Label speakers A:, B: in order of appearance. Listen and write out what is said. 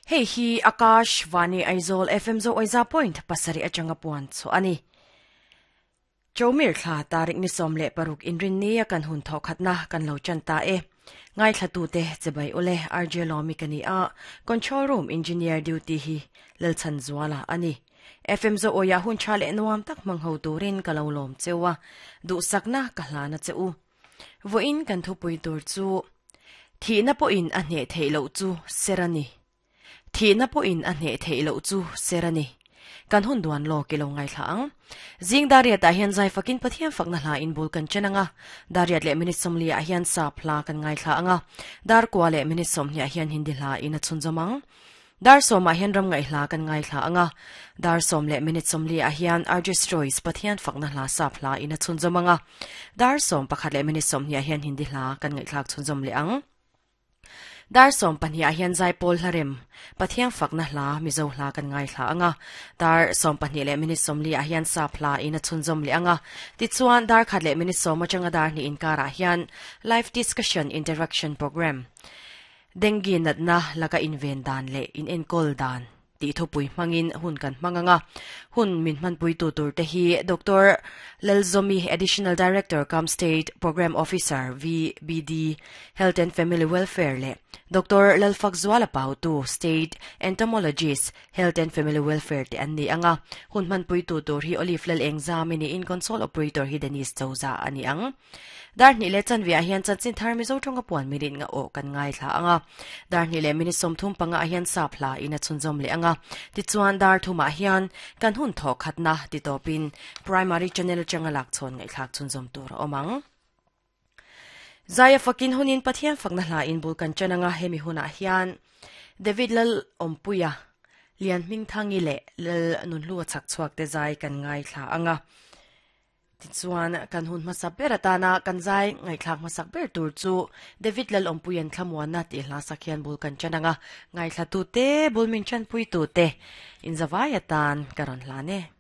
A: Hei hi Akash Vani Aizawl FM Zo Oiza Point pasarih atanga puan chhuah a ni. Chomir thla tarik ni 16 inrinni a kan hun thawh khatna kan lo chan ta e. Ngaithlatute chibai ule RJ Lawmi ka ni a, Control Room Engineer Duty hi Lalchhanzuala a ni. FM Zo Awia hun tha leh nuam tak hmang ho turin ka lo lawm cheu a, duhsakna ka hlan a che u. Vawiin kan thupui tur chu Thihna pawhin a hneh theih loh chu ser a ni. Thihna pawhin a hneh theih loh chu ser a ni. Kan hun duan lawk i lo ngaithla ang. Zing Dariat ah hian zai fakin Pathian fakna hla in bul kan chen ang a. Dariat leh minute 40 ah hian sap hla kan ngaithla ang a. Dar kua leh minute 20 ah hian Hindi hla in a chhunzawm ang. Dar sawmah hian ram ngaih hla kan ngaithla ang a, dar sawm leh minute 40 ah hian Arjus Joyce Pathian fakna hla sap hla in a chhunzawm ang a, dar 11 leh minute 20 ah hian Hindi hla kan ngaihthlak chhunzawm leh ang. Dar 12 ah hian Zaipawl hla rem Pathian fakna hla Mizo hla kan ngaithla ang a, dar 12 leh minute 40 ah hian sap hla in a chhunzawm leh ang a, tichuan dar khat leh minute 10 atanga dar hnih inkarah hian Live Discussion Interaction Program Dengue natna laka inven dan leh inenkawl dan tih thupui hmangin hun kan hmang ang a. Hun min hmanpuitu tur te hi Doctor Lalzomi, Additional Director cum State Programme Officer, VBD, Health and Family Welfare leh Doctor Lalfakzuala Pautu, State Entomologist, Health and Family Welfare te an ni ang a. Hun hmanpuitu tur hi Olive Lalengzami niin Console Operator hi Dennis Chauza a ni ang. Dar hnih leh chanve ah hian chanchin thar Mizo tawnga puan minute nga aw kan ngaithla ang a. Dar hnih leh minute 35 ah hian sap hla in a chhunzawm leh ang a. Tichuan dar thum ah hian kan hun thawh khatna ti tawpin Primary Channel atanga lak chhawn ngaihthlak chhunzawm tur a awm ang. Zaia fakin hunin Pathian fakna hla in bul kan chan ang a, hemi hunah hian David Lal Awmpuia, Lian Hmingthangi leh Lal Nunhlua chhak chhuak te zai kan ngaithla ang a. Tichuan, kan hun hmasa ber atana kan zai ngaihthlak hmasak ber tur chu David Lalawmpuia'n Thlamuanna tih hla sak hian bul kan ṭan ang a, ngaithlatute, bul min ṭanpuitute inzavai atan ka rawn hlan e.